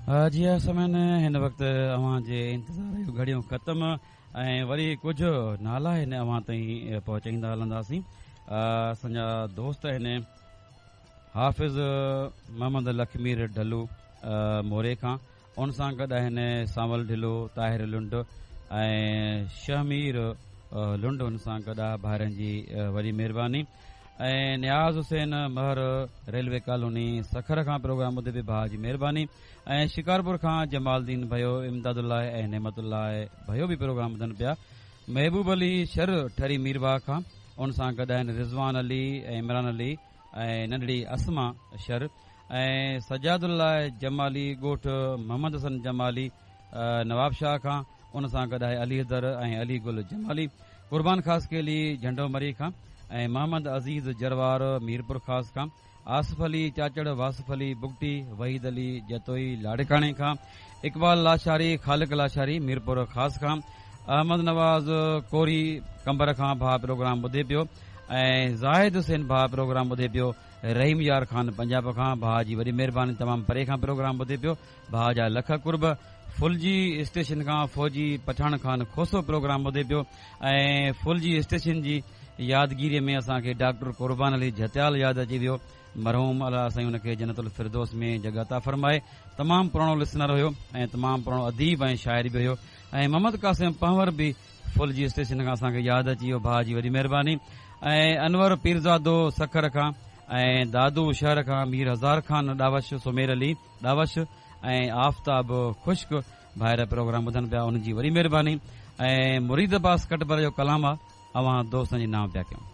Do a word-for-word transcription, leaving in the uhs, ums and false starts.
جي ها سامعين، هن وقت اوهان جي انتظار جون گهڙيون ختم ۽ وري ڪجهه نالا هن اوهان تائين پهچائيندا هلنداسين. اسان جا دوست آهن حافظ محمد لکمير ڍلو موري کان، ان سان گڏ آهن سانول ڍلو، طاهر لنڊ ۽ شهمير لنڊ، ان سان گڏ آهي. ڀائرن جي وڏي مهرباني. ۽ نياز حسين مهر ريلوي ڪالوني سکر کان پروگرام ٻڌي به ڀاء جي مهرباني. ۽ شڪارپور کان جمال الدين ڀيو، امداد الله ۽ نعمت الله ڀيو به پروگرام ٻڌن پيا. محبوب علي شر ٺري ميرواهه کان، ان سان گڏ آهن رضوان علي ۽ عمران علي ۽ ننڍڙي اسما شر. ۽ سجاد الله جمالي ڳوٺ محمد حسن جمالي نواب شاهه کان، ان سان گڏ آهي علي حيدر ۽ علي گل جمالي. قربان خاصخيلي جهنڊو مري کان ۽ محمد عزيز جروار ميرپور خاص کان، آصف علي چاچڙ، واصف علي بگٽي، وحيد علي جتوئي لاڙڪاڻي کان، اقبال لاشاري، خالق لاشاري ميرپور خاص کان، احمد نواز ڪوري قمبر کان ڀاء پروگرام ٻڌي پيو. ۽ زاهد حسين ڀاء پروگرام ٻڌي پيو رحيم يار خان پنجاب کان، ڀاء جي وڏي مهرباني، تمام پري کان پروگرام ٻڌي پيو، ڀاء جا لک قرب. ڦلجي اسٽيشن کان فوجي پٺاڻ خان کوسو پروگرام ٻڌي پيو. ۽ ڦلجي اسٽيشن جي يادگيريءَ ۾ اسان کي ڊاڪٽر قربان علي جهتيال ياد اچي ويو مرحوم، الله سائين ان کي جنت الفردوس ۾ جڳهه عطا فرمائي. تمام پراڻو لسنر هيو ۽ تمام پراڻو اديب ۽ شاعر به هيو. ۽ محمد قاسم پنهور به ڦلجي اسٽيشن کان اسان کي ياد اچي ويو، ڀاء جي وڏي مهرباني. ۽ انور پيرزادو سکر کان ۽ دادو شهر کان مير هزار خان ڏاوش، سمير علي ڏاوش ۽ آفتاب خشڪ ڀائر پروگرام ٻڌن پيا، انهن جي وڏي مهرباني. ۽ مريد عباس ڪٽبر جو ڪلام آ اوهان دوستن جي نام پيا ڪيون.